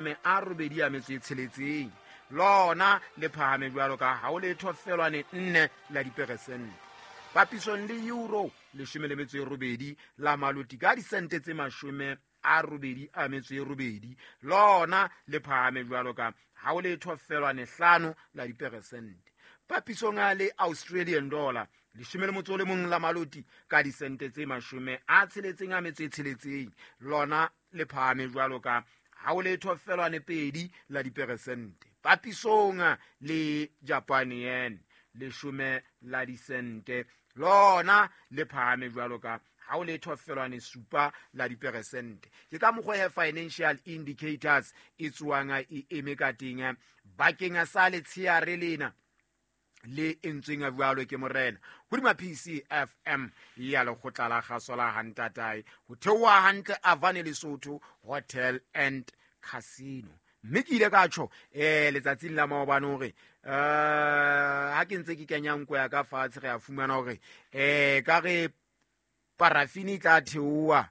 86 lona le phahame jwalo ka ha o letho felwane 4 la diperesente. Papisong le euro 18 la maloti ka disente tse 88 lona le phahame jwalo ka ha o letho felwane 5 la diperesente. Papisong le Australian dollar 11 la maloti ka disente tse 66 lona le phahame jwalo ka ha o letho felwane 2 la diperesente. Papisong le Japan yen 10 la disente lona le phahame jwalo ka ha o letho felwane 7 la diperesente. Ke ka mokgwa he financial indicators e tswang e eme ka teng bakeng sa letsheare lena le entsweng a jwalo ke morena hodima PCFM ya lekgotla la kgaso la Hantatae ho theoha hantle Avane Lesotho Hotel and Casino. Mme ke ile ka tjho letsatsing la maobane hore ha ke ntse ke kenya nko ya ka fatshe re a fumana hore ka re parafini e tla theoha,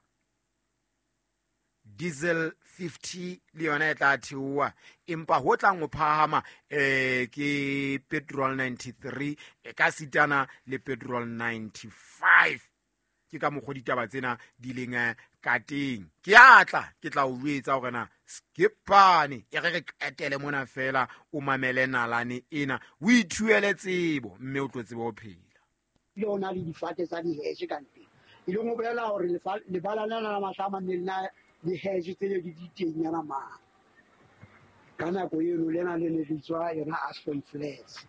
diesel 50 le yona e tla theoha, empa ho tlang ho phahama ke petrol 93 e ka sitana le petrol 95. Ke ka mokgwa ditaba tsena di leng ka teng. Ke a tla ke tla o jwetsa hore na skipane e re re qetele mona fela o mamele nalane ena o ithuele tsebo mme o tlo tsebe ho phela. Le ona le difate tsa diheshe ka nteng, e leng ho bolela hore lebala lena la Matlama ne le na le hedge tse ne di di teng nyana mane. Ka nako eno lena le ne le tswa yona Aspen Flats.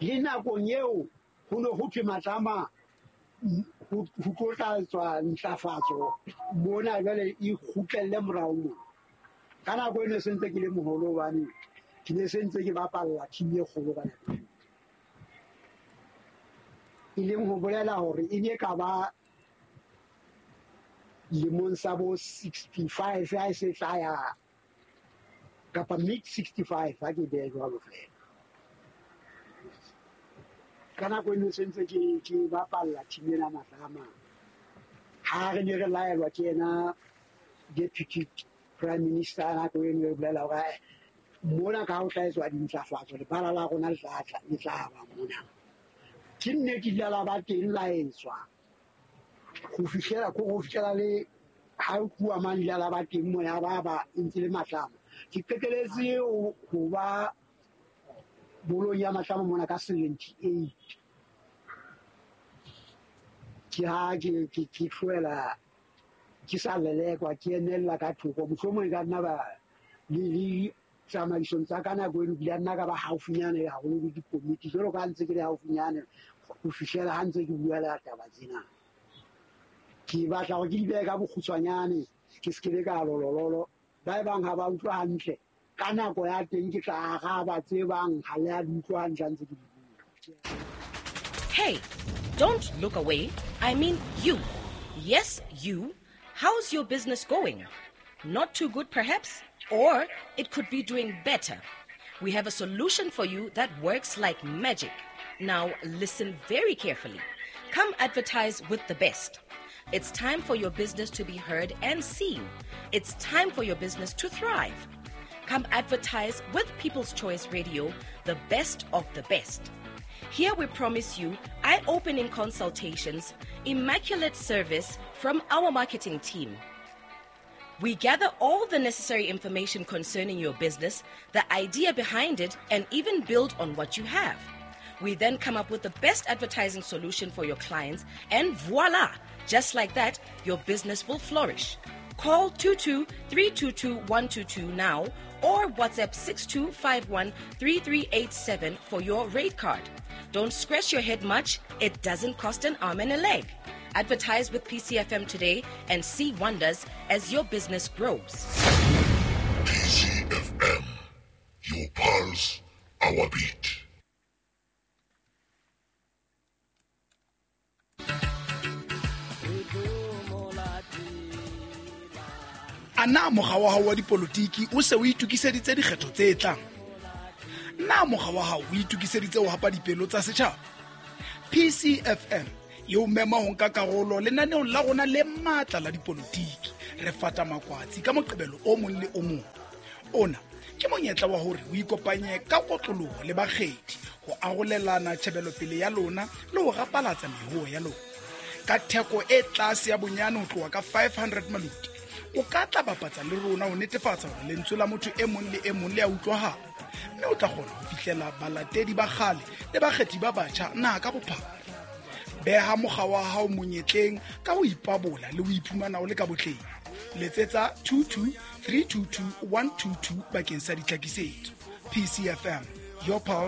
Le nakong eo ho ne ho thwe Matlama ho tlo tla tswa ntlafatso mona jwale e kgutlelle morao mona. Ka nako eno se ntse ke le moholo hobane ke ne se ntse ke bapalla team e kgolo ka nako eo. E leng ho bolela hore e ne ka ba lemong sa bo 65 ha e se tla ya kapa mid 65 ha ke behe jwalo fela. Ka nako eno se ntse ke bapalla team ena Matlama. Ha re ne re laelwa ke yena deputy prime minister nako eno e bolela hore mona ka ho tla etswa dintlafatso lebala la rona le tla tla le tla ba mona. Ke nnete ile la ba teng la etswa ho fihlela ko ho fihlela le ha o tluwa mane ile la ba teng mona ba ba ntse le Matlama. Ke qeteletse ho ba bolong ya Matlama mona ka 78. Ke ha ke tlohela ke sa lelekwa ke emella ka thoko, mohlomong e ka nna ba le tsamaisong tsa ka nako eno bile nna ka ba haufinyane haholo le dikomiti jwalo ka ntse ke le haufinyane ho fihlela ha ntse ke bua le taba tsena. Ke batla hore ke di behe ka bokgutshwanyane, ke se ke be ka lolololo. Ba e bang ha ba utlwa hantle ka nako ya teng ke tla araba tse bang ha le a di utlwa hantle ha ntse ke di bua. Hey, don't look away. I mean you. Yes, you. How's your business going? Not too good, perhaps? Or it could be doing better. We have a solution for you that works like magic. Now, listen very carefully. Come advertise with the best. It's time for your business to be heard and seen. It's time for your business to thrive. Come advertise with People's Choice Radio, the best of the best. Here we promise you eye-opening consultations, immaculate service from our marketing team. We gather all the necessary information concerning your business, the idea behind it, and even build on what you have. We then come up with the best advertising solution for your clients, and voila! Just like that, your business will flourish. Call 22 322 122 now or WhatsApp 6251 3387 for your rate card. Don't scratch your head much, it doesn't cost an arm and a leg. Advertise with PCFM today and see wonders as your business grows. PCFM, your pulse, our beat. A na mokga wa hao wa dipolotiki o se o itokiseditse dikgetho tse tlang? Na mokga wa hao o itokiseditse ho hapa dipelo tsa setjhaba? PCFM e o mema ho nka karolo lenaneong la rona le matla la dipolotiki Re fata makwatsi ka Moqebelo o mong le o mong. Ona ke monyetla wa hore o ikopanye ka kotloloho le bakgethi ho arolelana tjhebelopele ya lona le ho rapalatsa mehoo ya lona. Ka theko e tlase ya bonyane ho tloha ka 500 maluti, o ka tla bapatsa le rona ho netefatsa hore lentswe la motho e mong le e mong le a utlwahala, mme o tla kgona ho fihlela balatedi ba kgale le bakgethi ba batjha naha ka bophara. Beha mokga wa hao monyetleng ka ho ipabola le ho iphumana o le ka botleng. Letsetsa 22 322 122 bakeng sa ditlhakisetso. PCFM, your pulse,